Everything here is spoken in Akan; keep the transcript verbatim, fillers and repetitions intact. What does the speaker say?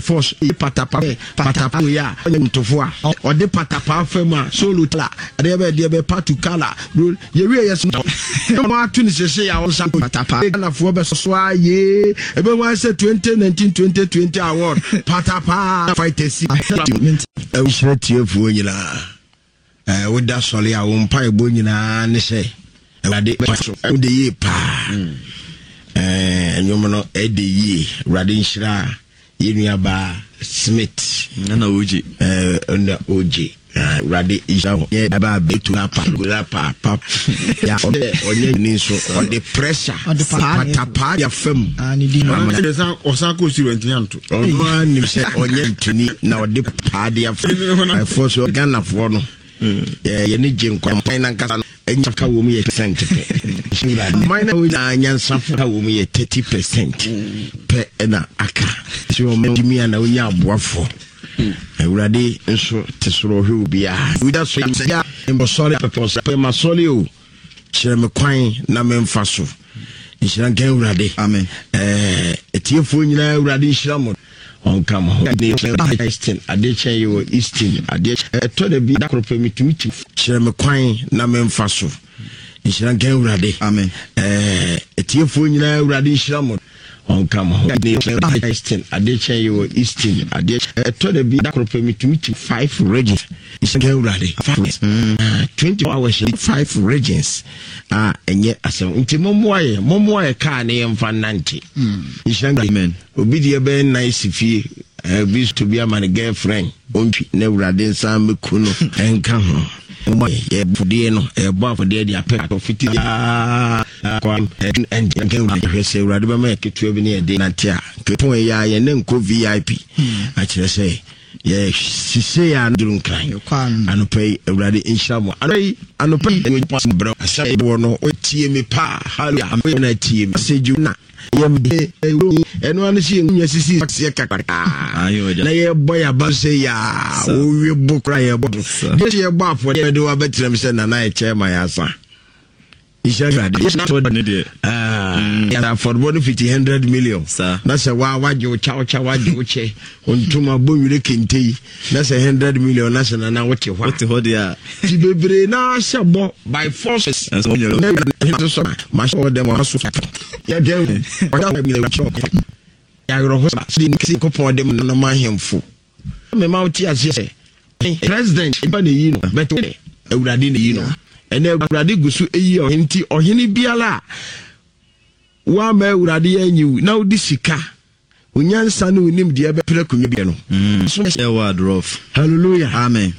Force patapa patapa yi a ɔnyɛ ntofo a ɔde patapa fam a solo tala adeɛ bɛ deɛ bɛ patu kala yɛwie yɛ so na ato ne sese a ɔnsa patapa Ghanafoɔ bɛ soso ayee ebe wɔn sɛ twenty nineteen twenty twenty award patapa fighters. Ɛwuhyerɛ tiefoɔ nyinaa, ɛɛ woda sɔre a wɔn mpa ɛbɔ nyinaa ne sɛ Awurade so ɛwɔ de yie paa. Ɛɛ nnwom no ɛde yie. Awurade nhyira yɛn nuabaa Smith. Nana Ogye. Ɛɛ ɛna Ogye. Awurade nhyira ho yɛ ba abɛtu pa gula pa pa ya ɔde ɔnyɛ ni nso ɔde pressure patapaa ya fam. Ɔsan kɔ siri ntumi anto. Ɔno ara nim sɛ ɔnyɛ ntoni na ɔde paa de afa ɛfɔ so. Ghanafoɔ no yɛne gye nkwa nankasa no ɛnya ka wɔ mu yɛ percent pɛ. Man na nyinaa nyansafo ka wɔ mu yɛ thirty percent pɛ ɛna aka sɛ ɔma tumi a na wonya aboafoɔ. Awurade nso te soro ɔhwɛ obiara. Woda so mbɔsɔre pɛpɛ masɔre o, kyerɛ me kwan na memfa so. Nhyira nka Awurade. Amen. Ɛɛ atiefoɔ nyinaa, Awurade nhyira mo, ɔnka mo ho. Eastern adeɛ kyɛn yɛ wɔ Eastern adeɛ ɛtɔ da bi da koro pɛ metumi ti. Kyerɛ me kwan na memfa so. Nhyira nka Awurade. Amen. Ɛɛ atiefoɔ nyinaa, Awurade nhyira mo, ɔnka mo ho. Eastern adeɛ kyɛn yɛ wɔ Eastern adeɛ ɛtɔ da bi da koro pɛ metumi ti five regions. Nhyira nka Awurade. Five twenty four hours, five regions a ɛnyɛ asɛm. Nti mommoa yɛ, mommoa yɛ kaa ne yɛmfa nante. Nhyira nka. Amen. Obi deɛ bɛyɛ nnan si fie, ebi to bi ama ne girlfriend ɔntwi na Awurade nsa mɛku no ɛnka ho. Yɛ afɔdeɛ no, yɛbɔ afɔdeɛ de apɛ atɔ fiti hwɛ sɛ Awurade bɛma yɛ ketewa bi ne yɛde nante a kepɔn yɛ a yɛne nkɔ V I P akyerɛ sɛ yɛ sise a duru Nkran anɔpa yi. Awurade nhyira mo anɔpa yi. Anɔpa yi brɛ asɛm wɔ no tie me paa. Hallelujah. Na tie me sɛ na ɛno ano sɛ yɛnya sisi aseɛ kakraa na yɛbɔ yɛaba sɛ yɛa wowie bo kora yɛbɔ deɛ sɛ yɛbɔ afɔdeɛ bɛde wabɛtenam sɛ nana ɛkyɛ ma yɛasa. Nhyira Awurade. Afɔrebɔ no fiti hundred million na sɛ waa wagye wo kyawkya, wagye wo kyɛ ntoma bɔ nwere kente yi na sɛ hundred million na sɛ nana wote hɔ. Wote hɔ deɛ a. Ti bebree na ahyɛ bɔ by force. Mahyɛ wɔ dɛm aso yɛdɛ yɛawerɛho sɛ Nkopɔn de nom ahemfo mema wote aseɛ sɛ president ba na eyi no bɛtɛ Awurade na eyi no. Ɛnɛ Awurade gu so eyi ɔhene. Nti ɔhene biara a wama Awurade yɛ anyiw na wode sika onyansa ne onim deɛ bɛpere akonnwa bi no. Yɛ wɔ adorɔf. Hallelujah. Amen.